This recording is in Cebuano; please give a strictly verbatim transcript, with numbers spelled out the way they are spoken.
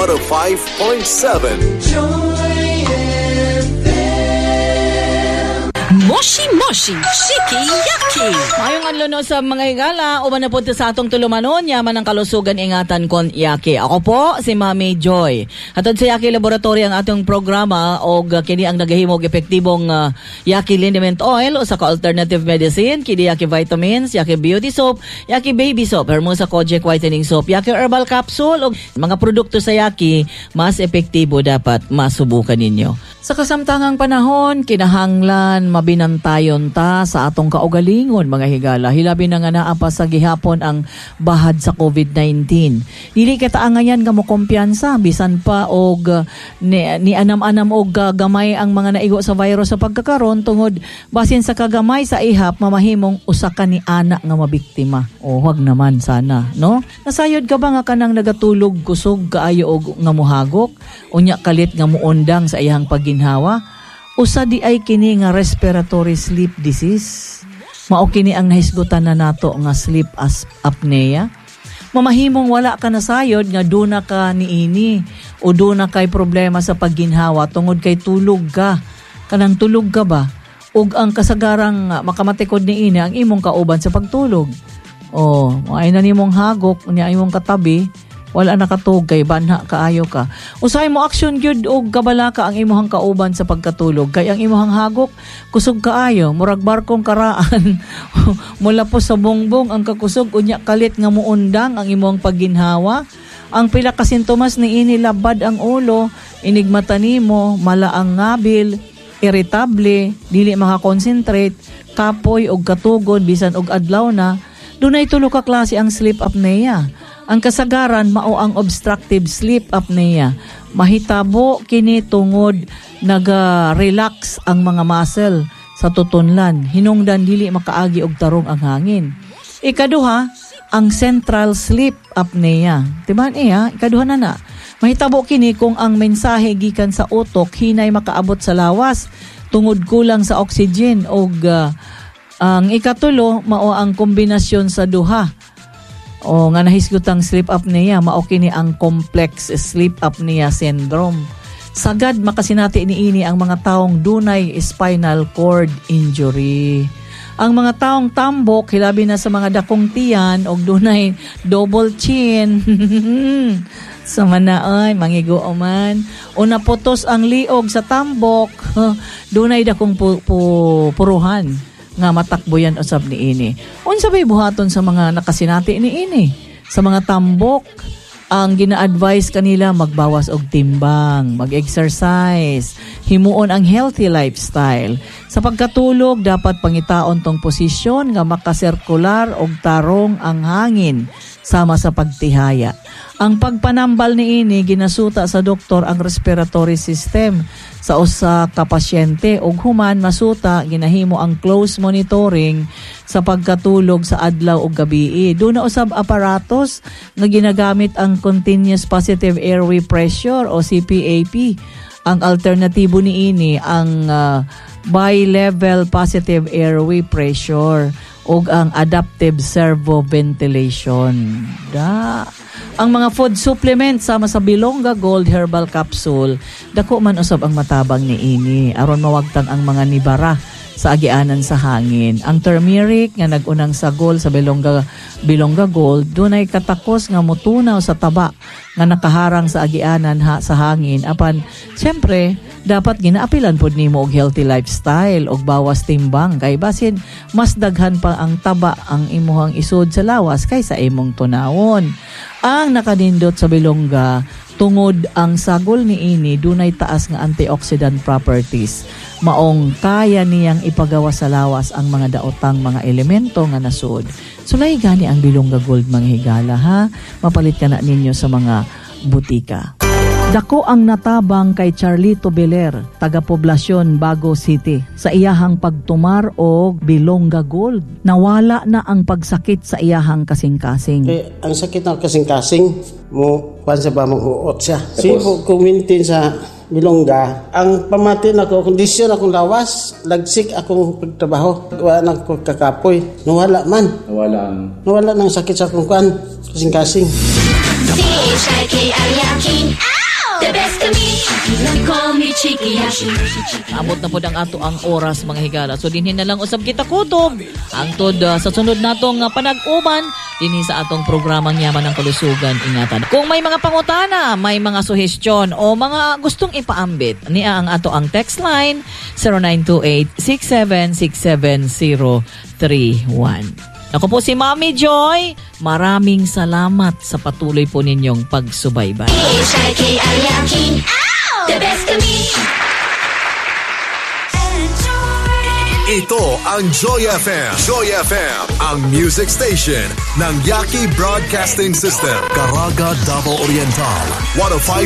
one oh five point seven. Joy F M. Moshi Moshi Shiki Yaki. Mayong adlaw no sa mga higala, uban na po sa atong tulumanon, yaman ang kalusugan, ingatan kon Yaki. Ako po si Mami Joy. Hatod sa Yaki Laboratory ang atong programa og kini ang nagahimo og epektibong uh, Yaki Liniment Oil usa ka alternative medicine, kini Yaki Vitamins, Yaki Beauty Soap, Yaki Baby Soap, Hermosa Kojic Whitening Soap, Yaki Herbal Capsule og mga produkto sa Yaki mas epektibo dapat masubukan ninyo. Sa kasamtangang panahon, kinahanglan mabinantayon ta sa atong kaugalingon, mga higala. Hilabi na nga naa pa sa gihapon ang bahad sa COVID nineteen. Dili kita angayan nga mo kumpiyansa bisan pa og uh, ni, ni anam-anam og uh, gamay ang mga naigo sa virus sa pagkakaron tungod basin sa kagamay sa ihap mamahimong usa ka ni ana nga mabiktima. O wag naman sana, no? Nasayod ka ba nga kanang nagatulog kusog kaayo og nga muhagok unya kalit nga muundang sa iyang pagginhawa? Usa di ay kini nga respiratory sleep disease. Mao kini ang nahisgutan na nato nga sleep as apnea. Mamahimong wala ka nasayod nga duna ka niini o duna kay problema sa pagginhawa tungod kay tulog ka. Kanang tulog ka ba? Ug ang kasagarang makamatikod niini ang imong kauban sa pagtulog. O, ay na nimong hagok niya imong katabi, wala nakatug kay banha kaayo ka. Usahay mo aksyon gyud og kabalaka ang imuhang kauban sa pagkatulog kay ang imuhang hagok kusog kaayo, murag barkong karaan. Mula po sa bongbong ang kakusog unya kalit nga muundang ang imuhang pagginhawa. Ang pila ka sintomas niini labad ang ulo, inigmata nimo, mala ang ngabil, irritable, dili makakonsentrate, kapoy og katugod bisan og adlaw na. Dunay tulo ka klase ang sleep apnea. Ang kasagaran mao ang obstructive sleep apnea. Mahitabo kini tungod naga-relax ang mga muscle sa tutunlan. Hinungdan dili makaagi og tarong ang hangin. Ikaduha, ang central sleep apnea. Timan iya, ikaduha na na. Mahitabo kini kung ang mensahe gikan sa utok hinay makaabot sa lawas tungod kulang sa oxygen og uh, ang ikatulo mao ang kombinasyon sa duha. O nga nahisgutang sleep apnea, mao kini ang complex sleep apnea syndrome. Sagad makasinati niini ang mga taong dunay spinal cord injury. Ang mga taong tambok, hilabi na sa mga dakong tiyan og dunay double chin. Sa manaay, mangigo man. O naputos ang liog sa tambok, dunay dakong pu- pu- puruhan nga matakboyan usab niini. Unsa bay buhaton sa mga nakasinati niini? Sa mga tambok, ang gina-advise kanila magbawas og timbang, mag-exercise, himuon ang healthy lifestyle. Sa pagkatulog, dapat pangitaon tong posisyon nga makasirkular og tarong ang hangin sama sa pagtihaya. Ang pagpanambal niini ginasuta sa doktor ang respiratory system sa usa ka pasyente ug human masuta ginahimo ang close monitoring sa pagkatulog sa adlaw ug gabii. Duna usab aparatos nga ginagamit ang continuous positive airway pressure o C P A P. Ang alternatibo niini ang uh, bi-level positive airway pressure ug ang adaptive servo ventilation. Da. Ang mga food supplements sama sa Bilongga Gold Herbal Capsule, dako man usab ang matabang niini aron mawagtang ang mga nibara sa agianan sa hangin. Ang turmeric nga nagunang sagol sa Bilongga Bilongga Gold dunay katakos nga motunaw sa taba nga nakaharang sa agianan ha, sa hangin, apan syempre dapat ginaapilan pod nimo og healthy lifestyle og bawas timbang kay basin mas daghan pa ang taba ang imuhang isod sa lawas kaysa imong tunawon. Ang nakanindot sa Bilongga tungod ang sagol niini dunay taas nga antioxidant properties. Maong kaya niyang ipagawa sa lawas ang mga daotang mga elemento nga nasud. Sulay gani ang Bilongga Gold, mga higala, ha. Mapalit ka na ninyo sa mga butika. Dako ang natabang kay Charlito Beler, taga-poblasyon Bago City, sa iyahang pagtumar og Bilongga Gold. Nawala na ang pagsakit sa iyahang kasing-kasing. Eh, ang sakit ng kasing-kasing, mo kuan sa ba mong huot siya. Sibo kumintin sa Bilongga, ang pamati na ko, kondisyon akong lawas, lagsik akong pagtrabaho. Wala na ko kakapoy. Nawala man. Nawala ang Nawala ng sakit sa akong kuan, kasing-kasing. C H I K I Yaki. Yaki. Call me Cheeky Yashi. Abot na pod ang ato ang oras, mga higala. So dinhi na lang usab kita kutob. Hangtod uh, sa sunod natong uh, panag-uban dinhi sa atong programang Yaman ng Kalusugan Ingatan. Kung may mga pangutana, may mga suhestyon o mga gustong ipaambit, niya ang ato ang text line zero nine two eight, six seven six seven zero three one. Ako po si Mami Joy. Maraming salamat sa patuloy po ninyong pagsubaybay. H I K I Yaki. The best kami. Ito ang Joy F M. Joy F M, ang music station ng Yaki Broadcasting System. Caraga, Davao Oriental. one oh five